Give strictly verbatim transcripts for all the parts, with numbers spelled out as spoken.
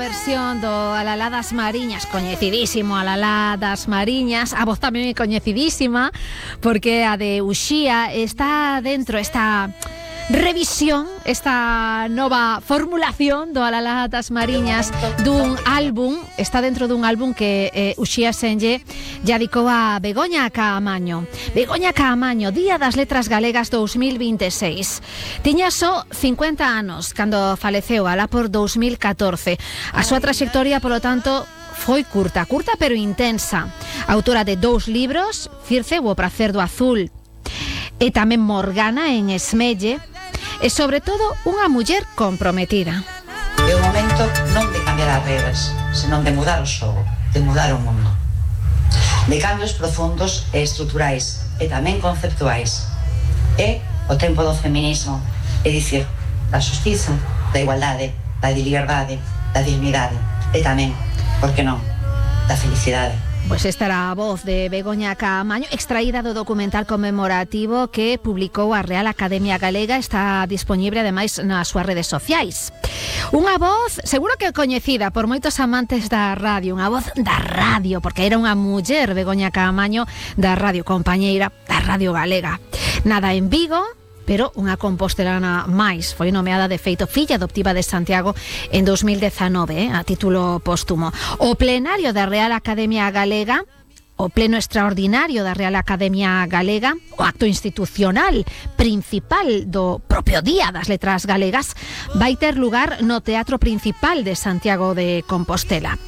versión do Alalá das Mariñas, coñecidísimo Alalá das Mariñas. A voz tamén é coñecidísima porque a de Uxía está dentro esta revisión, esta nova formulación do Alalá das Mariñas dun álbum, está dentro dun álbum que eh, Uxía Senlle ya dedicou a Begoña Caamaño. Begoña Caamaño, Día das Letras Galegas dous mil vinte e seis. Tiña só cincuenta anos cando faleceu alá por dous mil catorce. A súa traxectoria, polo tanto, foi curta, curta pero intensa. Autora de dous libros, Circe, o prazer do azul, e tamén Morgana en Esmelle, e sobre todo unha muller comprometida. É o momento non de cambiar as regras, senón de mudar o xogo, de mudar o mundo. De cambios profundos e estruturais, e tamén conceptuais. É o tempo do feminismo, é dicir, da xustiza, da igualdade, da liberdade, da dignidade, e tamén, por que non, da felicidade. Pois esta era a voz de Begoña Caamaño, extraída do documental conmemorativo que publicou a Real Academia Galega. Está dispoñible ademais nas súas redes sociais. Unha voz seguro que coñecida por moitos amantes da radio, unha voz da radio, porque era unha muller, Begoña Caamaño, da radio, compañeira da Radio Galega. Nada en Vigo, pero unha compostelana máis. Foi nomeada, de feito, filla adoptiva de Santiago en dous mil dezanove, eh, a título póstumo. O plenario da Real Academia Galega, o pleno extraordinario da Real Academia Galega, o acto institucional principal do propio Día das Letras Galegas, vai ter lugar no Teatro Principal de Santiago de Compostela.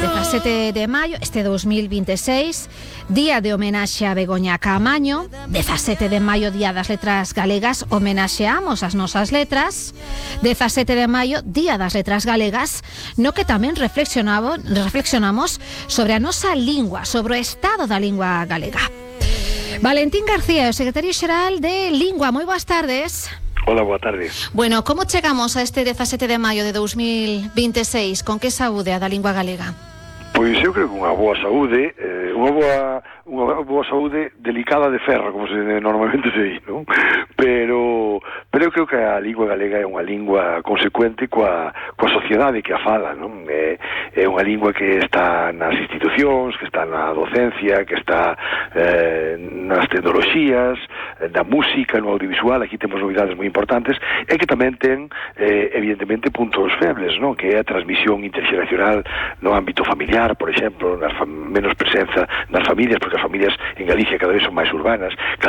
dezasete de maio, este dous mil vinte e seis, día de homenaxe a Begoña Caamaño. dezasete de maio, Día das Letras Galegas, homenaxeamos as nosas letras. dezasete de maio, Día das Letras Galegas, no que tamén reflexionamos, reflexionamos sobre a nosa lingua, sobre o estado da lingua galega. Valentín García, o secretario xeral de Lingua, moi boas tardes. Hola, boa tarde. Bueno, como chegamos a este dezasete de maio de dous mil vinte e seis? Con que saúde a da lingua galega? Pois eu creo que unha boa saúde, eh, unha boa unha boa saúde delicada de ferro, como se normalmente se di, non? Pero pero eu creo que a lingua galega é unha lingua consecuente coa coa sociedade que a fala, non? É, é unha lingua que está nas institucións, que está na docencia, que está eh, nas tecnoloxías, na música, no audiovisual. Aquí temos novidades moi importantes, e que tamén ten eh, evidentemente puntos febles, non? Que é a transmisión interxeracional no ámbito familiar, por exemplo, nas menos presenza nas familias, porque as familias en Galicia cada vez son máis urbanas, cada